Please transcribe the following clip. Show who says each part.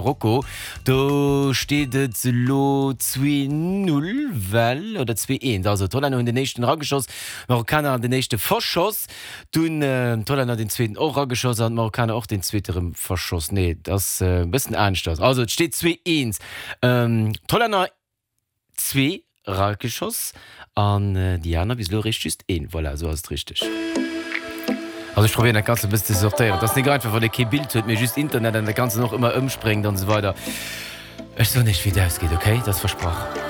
Speaker 1: Marokko, do steet et elo 2, 0 well, oder 2, 1, also d'Hollänner hunn den éischten erageschoss, d'Marokkaner den éischte verschoss, dunn d'Hollänner den zweeten och erageschoss an d'Marokkaner och den zweete rëm verschoss. Nee, et ass e bëssen aneschters. Also et steet 2, 1, d'Hollänner Zwee erageschoss an déi aner bis elo eréischt just een. Voilà, esou ass et richteg. Also ech probéieren dat Ganzt e bëssen ze sortéieren. Et ass nik einfach, wann ee kee Bild huet, mee just Internet an dat Ganzt dann och ëmmer ëmspréngt an esou weider. Ech soen iech wéi et ausgeet, ok? Dat ass versprach.